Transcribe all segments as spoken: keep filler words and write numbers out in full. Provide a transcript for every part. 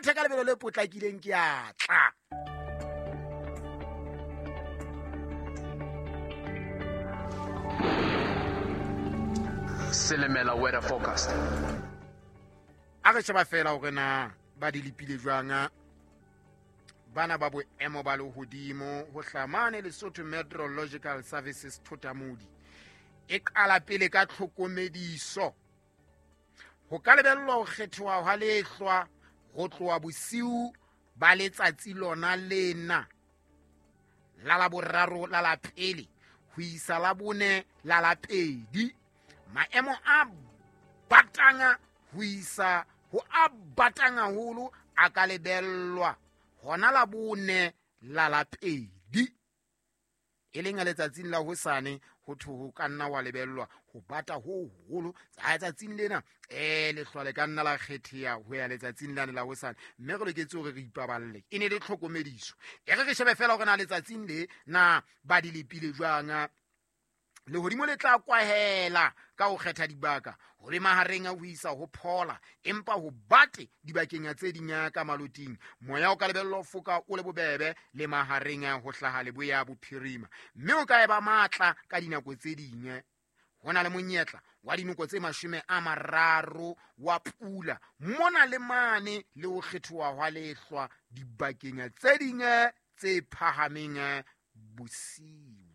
mathe ka lebelo le potlakileng ke a tla. Silimela weather forecast. A re sheba fela hore na ba di lepile jwang bana ba boemo ba lehodimo ho hlamane Lesotho Meteorological Services Thotamodi e qala pele ka tlhokomediso. Ho ka lebellwa ho kgethoha hwa lehlwa ho tloha bosiu ba letsatsi lona lena la laboraro la la pele ho isa la bone la la pedi. Maemo a batanga ho isa ho a batanga haholo a ka lebellwa hona la bone la la pedi, e leng letsatsing la hosane ho thwe ho ka nna wa lebellwa ho bata ho hoholo. Tsatsing lena eh lehlwa le ka nna la kgetheha ho ya letsatsing lane la hosane, mme re loketse hore re ipaballe. E ne le tlhokomediso. E re re shebe fela hore na letsatsing le na ba di lepile jwang. Lehodimo le tla kwahela ka ho kgetha dibaka ho le mahareng a ho isa ho phola, empa ho bate dibakeng tse ding ka maloting. Moya o ka lebellwa ho foka o le bobebe le mahareng a ho hlaha leboya bophirima, mme o ka eba matla ka dinako tse ding. Ho na le monyetla wa dinoko tse mashome a mararo wa pula mona le mane le ho kgethoha hwa lehlwa dibakeng tse ding tse phahameng bosiu.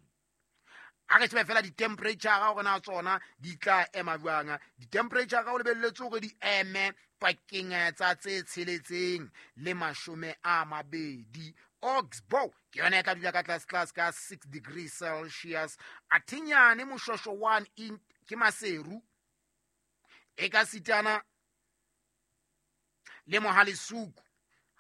A re shebe fela di-temperature hore na tsona di tla ema jwang. Di-temperature o lebelletse hore di eme pakeng tsa tse tsheletseng le mashome a mabedi. Oxbow ke yona e tla dula ka tlase tlase ka six degrees Celsius. Athinyane Moshosho one in ke Maseru e ka sitana le Mohalesuku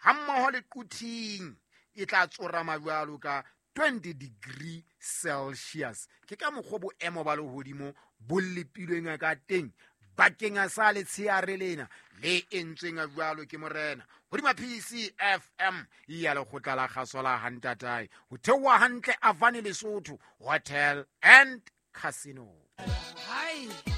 hammoho le Quthing e tla tsorama jwalo ka twenty degree Celsius. Ke ka mokgwa boemo ba lehodimo bo lepilweng ka teng bakeng sa letsheare lena le entsweng jwalo ke morena hodima P C F M ya lekgotla la kgaso la Hantatae ho theoha hantle Avani Lesotho Hotel and Casino. Hai.